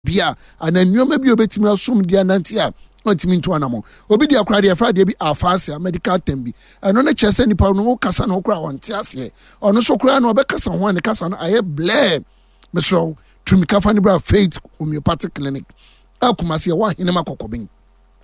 Bi a anaa nneɛma bi a obetumi asom de anante a ɔntumi ntu anamɔ. Obi deɛ koraa deɛ yɛfrɛ adeɛ bi aphasia, medical term bi. Ɛno no kyerɛ sɛ nipa no wokasa na ɔkoraa ɔnte aseɛ. Ɔno nso koraa no ɔbɛkasa ho a ne kasa no ayɛ blɛɛ. Mesrɛ wo, tumi ka fa ne bra Faith Homeopathic Clinic a Kumasi ɛwɔ Ahenema Kɔkɔben.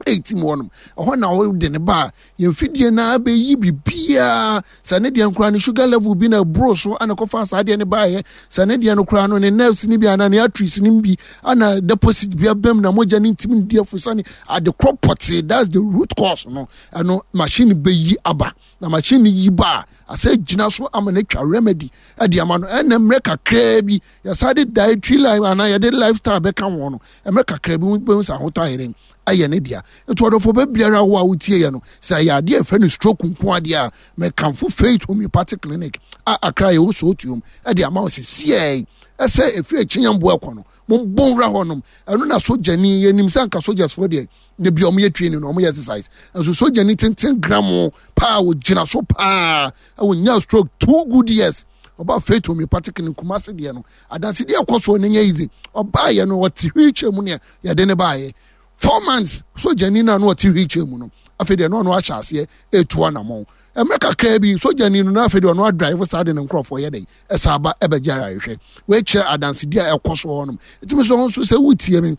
Ɛti mu hɔnom. Ɛhɔ na wɔde ne ba a yɛn fidie no ara bɛyi biribiara. Sɛ ne deɛ no koraa ne sugar level bi na ɛboro so ana kɔfa saa deɛ no baeɛ. Sɛ ne deɛ no koraa no ne nerves no bi anaa ne arteries no bi ana deposit bi abam na mogya no ntumi ndi afusane ade korɔ pɔtee. That's the root cause no. Ɛno machine bɛyi aba. Na machine yi ba a asɛ gyina so ama no atwa remedy de ama no. Ɛna mmerɛ kakraa bi yɛsa de dietary life anaa yɛde lifestyle bɛka ho no mmerɛ kakra bi bɛhu sɛ ahotɔ ayɛ dɛn ayɛ ne dea. Nti ɔdɔfo bɛ biara wo a wotie yɛ no, sɛ ɛyɛ adeɛ a ɛfrɛ no stroke nko adeɛ a, mekamfo Faith Homeopathic Clinic a Accra yɛwɔ Sootuom ɛde ama wo sɛ siɛɛ ɛsɛ ɛfiri akyinyamboa ɛkɔ no mombɔ nwura hɔnom. Ɛno na sogyani yɛnim sɛ anka sogyasfoɔ deɛ da bi ɔmo yɛ training na ɔmo yɛ exercise, nso sogyani tenten gramo paa ɔgyina so paa ɛwɔ nya stroke 2 good years. Ɔba Faith Homeopathic Clinic Kumasi deɛ no, adansedie ɛkɔ soɔ no nyɛ easy. Ɔbaayɛ no ɔte wheelchair mu neɛ yɛde ne baayɛ 4 months, sogyani no a na ɔte wheelchair mu no, afei deɛ na ɔno ahyɛ aseɛ etu anamɔn. Mmerɛ kakraa bi sogyani no na afei deɛ ɔno adrive saa de ne nkorɔfoɔ yɛ dɛn ɛsa aba ɛbɛgye ayarehwɛ. Wɔakyerɛ adansedie a ɛkɔ so hɔnom. Ɛtumi so nso sɛ wotie me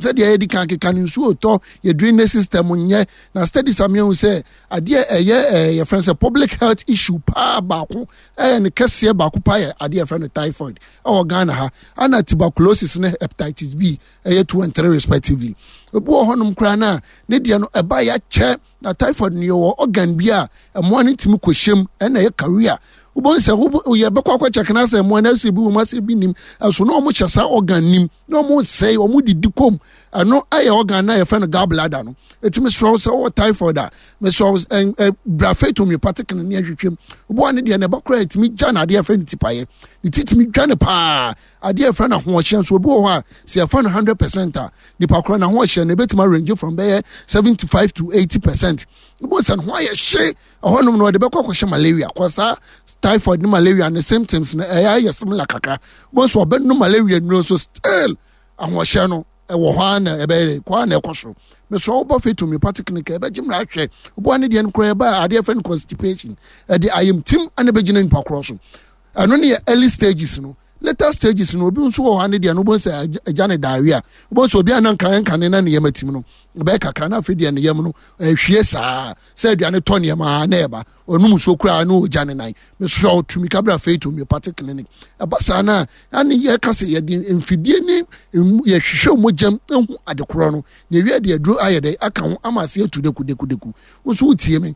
sɛdeɛ yɛdi kan keka no, nsuo tɔ yɛ drainage system nyɛ na studies ameahu sɛ adeɛ ɛyɛ ɛɛ yɛfrɛ no sɛ public health issue paa baako ɛyɛ ne kɛseɛ baako paa yɛ adeɛ yɛfrɛ no typhoid ɛwɔ Ghana ha, ana tuberculosis ne hepatitis B, ɛyɛ 2 and 3 respectively. Ebi wɔ hɔnom koraa na ne deɛ no ɛba yɛakyɛ na typhoid no yɛwɔ organ bi a ɛmoa no ntumi kɔhyɛm ɛna ɛyɛ carrier. Wobɛhu sɛ yɛbɛkɔ akɔ kyɛk na sɛ mmoa no asɛ bi wɔ mu asɛ bi nim ɛso na wɔn hyɛ saa organ nim na wɔn sɛe wɔn didi kom. Ɛno ɛyɛ organ na yɛfrɛ no gallbladder no. Ɛtumi srɛ sɛ wɔwɔ typhoid a, mesrɛ ɛ ɛ bra Faith Homeopathic no ne ahwehwɛ mu. Wobɛwa ne deɛ na ɛba koraa ɛtumi gya na adeɛ yɛfrɛ no tipaeɛ ne ti tumi dwa ne paa. Adeɛ yɛfrɛ no ahoɔhyɛ nso, obi wɔ hɔ a sɛ yɛfa no 100% a, nipa korɔ no ahoɔhyɛ no ɛbɛtumi arrange from bɛyɛ 75 to 80%. Wobɛhu sɛ ne ho ayɛ hye ɛhɔnom no ɔde bɛkɔ akɔhyɛ malaria kɔ. Saa typhoid ne malaria ne symptoms no ɛyɛ ayɛ similar kakra. Wobɛhu sɛ ɔbɛnom malaria nnuro nso still ahoɔhyɛ no ɛwɔ hɔ a na ɛbɛyɛ kɔ a na ɛkɔ soro. Mesrɛ wobɔ Faith Homeopathic Clinic ɛbɛgye mmara ahwɛ. Woboa ne deɛ no koraa ɛba adeɛ fɛ no constipation ɛde ayamtim ana ɛbɛgyina nipa korɔ so. Ɛno ne yɛ early stages no. Later stages no, obi nso wɔ hɔ ne deɛ no wobɛhu sɛ agya ne diarrhea. Wobɛhu sɛ obi a na nka nka ne na ne yam atim no ɛbɛyɛ kakra na afei deɛ ne yam no ɛhwie saa sɛ aduane tɔ nneɛma na ɛba ɔnum nsuo koraa na ɔgya ne nan. Mesrɛ wo, tumi ka bra Faith Homeopathic Clinic. Ɛba saa no a ane yɛka sɛ yɛde mfidie ne yɛhwehwɛ mogyam ehu adekorɔ no na ewie de aduro ayɛ dɛ aka ho ama ase atu deku deku deku. Wo nso wotie me,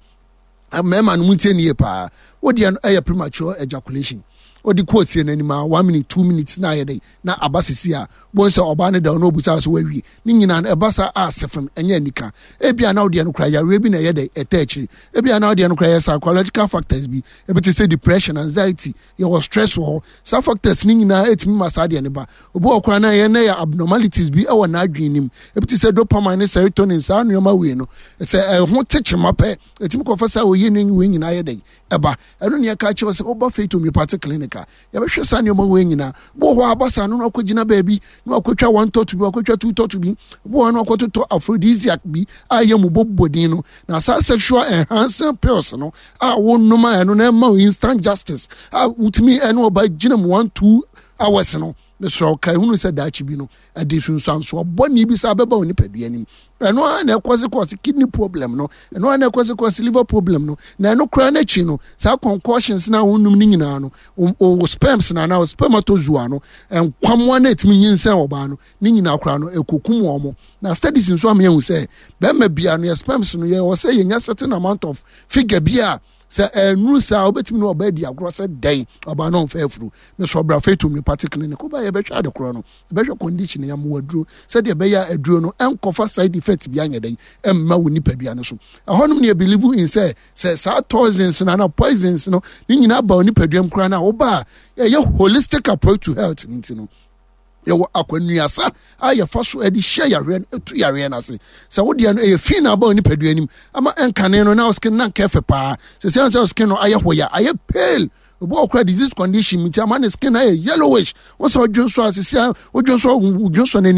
mmarima no mu ntie nie paa. Wo deɛ no ɛyɛ premature ejaculation. Wode kɔ tie n'anim a 1 minute, 2 minutes na ayɛ dɛ na aba sisi a bon sɛ ɔbaa no da ɔno obusa sɛ wawie ne nyinaa no ɛba saa a sefem ɛnyɛ anika. Ebia na wodeɛ no kora yareɛ bi na ɛyɛ dɛ ɛtɛ akyiri. Ebia na wodeɛ no kora yɛ psychological factors bi, ebi te sɛ depression, anxiety, yɛwɔ stress wɔ hɔ. Saa factors ne nyinaa ɛtumi ma saa deɛ no ba. Obi wɔ koraa na ɛyɛ na yɛ abnormalities bi ɛwɔ n'adwene nim, ebi te sɛ dopamine ne serotonin. Saa nneɛma wei no sɛ ɛho te kyema pɛ ɛtumi kɔfa saa oyi ne wei nyinaa yɛ dɛ ɛba. Ɛno ne yɛka kyerɛ sɛ woba Faith Homeopathic Clinic a yɛbɛhwɛ saa nneɛma wei nyinaa. Bo hɔ aba saa no na wakɔgyina baabi na wakɔtwa one tɔto bi, wakɔtwa two tɔto bi, bo hɔ na wakɔtotɔ aphrodisiac bi a ɛyɛ mu bɔbɔdin no na saa sexual enhancing pills no a wonom a ɛno na ɛma wo instant justice a wotumi ɛne ɔba gyina mu 1, 2 hours no. Mesrɛ wo, ka ehunu sɛ daakye bi no ɛde sunsuansoɔ bɔne bi saa bɛba wo nipadua anim. Ɛno ara na ɛkɔse kɔse kidney problem no, ɛno ara na ɛkɔse kɔse liver problem no. Na ɛno koraa n'akyi no, saa concoctions na wonom no nyinaa no, wo sperms na anaa spermatozoa no, nkwamoa no ɛtumi nyinsɛn ɔbaa no ne nyinaa koraa no ɛkɔkum wɔn mo. Na studies nso ama yɛhu sɛ bɛrima bia no yɛ sperms no yɛwɔ sɛ yɛnya certain amount of figure bi a sɛ ɛnuru saa wobɛtumi ne ɔbaa di agorɔ sɛ dɛn ɔbaa no ɔmfa afuru. Mesɛ ɔbra Faith Homeopathic Clinic, woba yɛbɛhwɛ ade korɔ no, yɛbɛhwɛ condition, yɛamoa aduro sɛdeɛ ɛbɛyɛ a aduro no ɛnkɔfa side effect bi anyɛ dɛn ɛmma wo nipadua no so. Ɛhɔnom ne yɛ believe in sɛ saa toxins no anaa poisons no ne nyinaa ba wo nipadua mu koraa no a, woba a ɛyɛ holistic approach to health no nti no yɛwɔ akwanuasa a yɛfa so de hyɛ yareɛ no, ɛtu yareɛ no ase. Sɛ wodeɛ no ɛyɛ fi na aba nipadua anim ama ɛnkane no na skin na nka ɛfɛ paa sɛ sɛ skin no ayɛ hɔ yɛ ayɛ pale. Obi wɔ kora disease condition nti ama ne skin ayɛ yellowish. Wɔn sɛ ɔdwonsɔ asisi a, ɔdwonsɔ, ɔdwonsɔ n'ani.